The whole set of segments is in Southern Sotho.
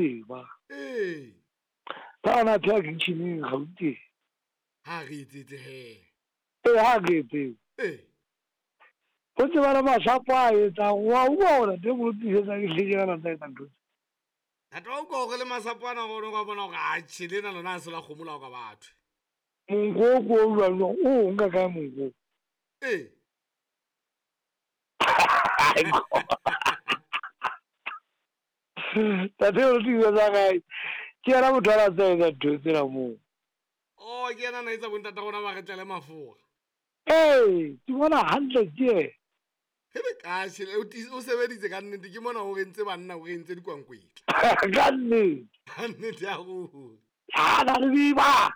Tseba. Ee. Ka ona pheha kitcheneng Gauteng. Ha re etsetse he. Ee, ha re etsetse. Ee. O tseba le masapo a etsang, wa utlwa hore ntate mo tiisetsa ke hleke ka nako etsa ntho tse. Ntate wa utlwa hore le masapo ana gore o ka bona hore atjhe lena lona a se la kgomo la o ka batho. Monko o ko o jwang jwang, o nka kae monko? Ee. Tate o tiisetsa kae? Ke yena motho a na tsa etsa ntho tsena moo. Oh, ke yena na etsa bontata rona ba re tlele mafura. Ee, ke bona hantle ke yena. Hele ka tjhe, o sebeditse ka nnete, ke mona o re entse banna, o re entse dikwankwetla. Ka nnete. Ka nnete ya ruri. Ha na le biba.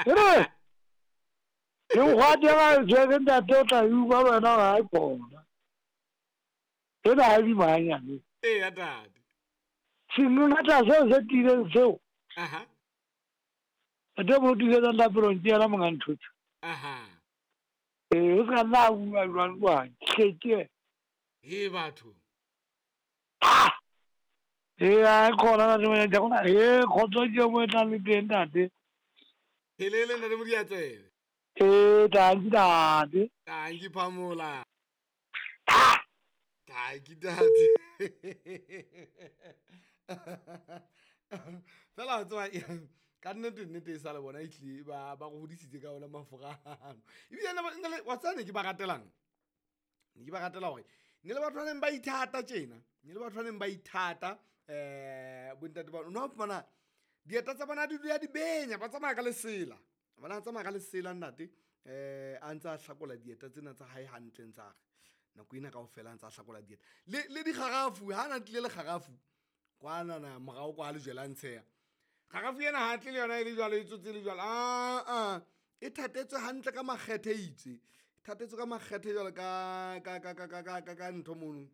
Re. Le ngwate ga tshwere ntate o tla utlwa wena ga e khona. Ena ha bima hanyane. Ee ya tate. Sengata seo se tiileng seo. Aha. Ntate mo tiisetsang lapelong ke yena monga ntho tse. Aha. Ee, o ska nna a bua jwang jwang. Hle ke. He batho. Ah! Ee, a khona ntate mo ja khona. Ee, khotso ke mo e tlang le teng ntate. Helele ntate Modiatsebe. Ee, tanki ntate. Tanki Phamola. Ah! Tanki tate. Fela o tseba ka nnete nnete e sa le bona ehlile ba ba go hodisitse ka ona mafurano. Ebile nna le wa tseba ne ke ba ratelang? Ne ke ba ratela hore ne le batho ba neng ba ithata tjena. Ne le batho ba neng ba ithata bontate ba no fumana dieta tsa bona di dula di benya, ba tsamaya ka lesela. Bona tsamaya ka lesela ntate a ntse a hlakola dieta tsena tsa hae hantle ntse a re nako ena kaofela a ntse a hlakola dieta. Le dikgarafu, ha na tlile le kgarafu kwanana morao kwa lejwe la ntsheya. Kgarafu ena ha tle le yona e le jwalo, e tsotse le jwalo. Ah, e thatetswe hantle ka makgethe itse. E thatetswe ka makgethe jwalo ka ka ka ka ka ka ka ntho mono.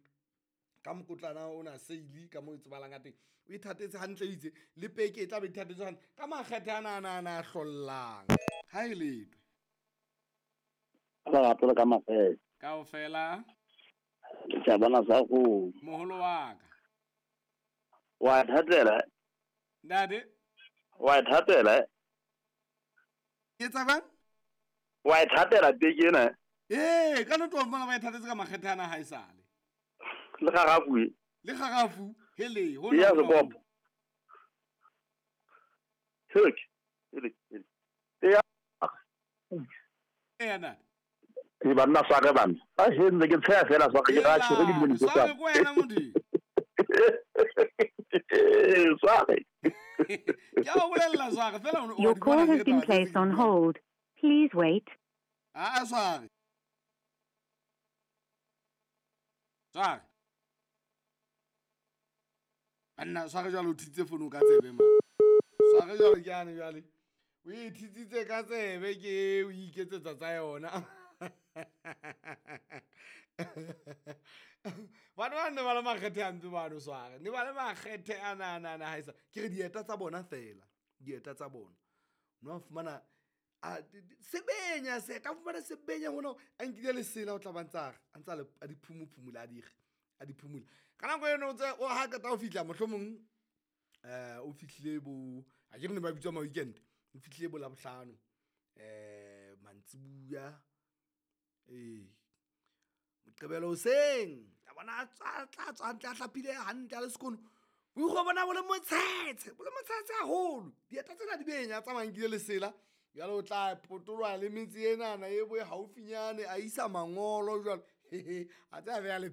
Ka mokotlana ona seile ka mo e tsebalang ka teng. O e thatetse hantle itse le peke e tla be e thatetswe hantle ka makgethe ana ana ana a hlollang. Ha e letwe. Lerato le ka makgethe. Kaofela. Ke tla bona sa go. Moholo wa ka. Wa thatela. Ntate. Wa thatela. Ke tsa bang? Wa thatela peke ena. Ee, ka nnete wa fumana ba e thatetse ka makgethe ana ha e sale. Le kgarafu e. Le kgarafu, hele, ho Ya na ho. sekopo. Hele, hele, hele. Ya. Ee, ntate. E banna sware banna. A he ntse ke tsheya fela sware ke ra tjhe ke di Sware ko wena motho. Sware. Ke a o bolella sware fela o Your call has been placed on hold. Please wait. Ah, sware. Sware. Banna sware jwale o thitse fono ka tsebe ma. Sware jwale ke ane jwale. O e thitsitse ka tsebe ke o iketsetsa tsa yona. Batho ba ne ba le makgethe a ntse bano sware. Ne ba le makgethe ana ana ana ha e sa. Ke re dieta tsa bona fela. Dieta tsa bona. No fumana a sebenya se ka fumana sebenya hona a nkile lesela o tla ba ntsa a ntsa a di phumuphumula a dire a di phumula. Ka nako eno o tse o ha qeta ho fihla mohlomong o fihlile bo a ke re ne ba bitswa ma weekend. O fihlile bo Labohlano mantsibuya Moqebelo hoseng a bona a tla tswa hantle a hlapile hantle a le sekono. O ikgo bona bo le motshetshe, bo le motshetshe haholo. Dieta tsena di benya a tsamaya nkile lesela. Jwale o tla potoloha le metse enana e bo e haufinyane a isa mangolo jwalo. A tse a beha le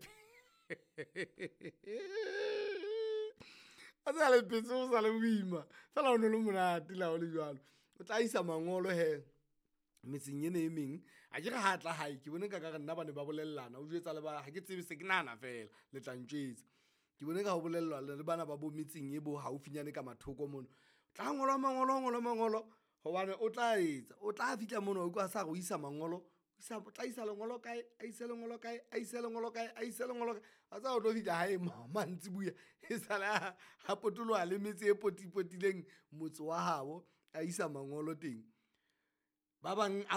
a tse a le phetse o sa le boima. Fela o no le monate la ho le jwalo. O tla isa mangolo he metseng ena e meng. A ke re ha tla hae ke bone ka ka re nna ba ne ba bolellana. O jwetsa le ba ha ke tsebe se ke nahana fela le tla ntjwetsa. Ke bone ka ho bolellwa le bana ba bo metseng e bo haufinyane ka mathoko mono. Tla ngolwa mangolo, ngolwa mangolo hobane o tla etsa, o tla fihla mono o utlwa sa re o isa mangolo, o isa tla isa lengolo kae, a ise lengolo kae, a ise lengolo kae, a ise lengolo kae. A tsa o tlo fihla hae mantsibuya e sale a potoloha le metse e potipotileng motse wa habo a isa mangolo teng. Ba bang a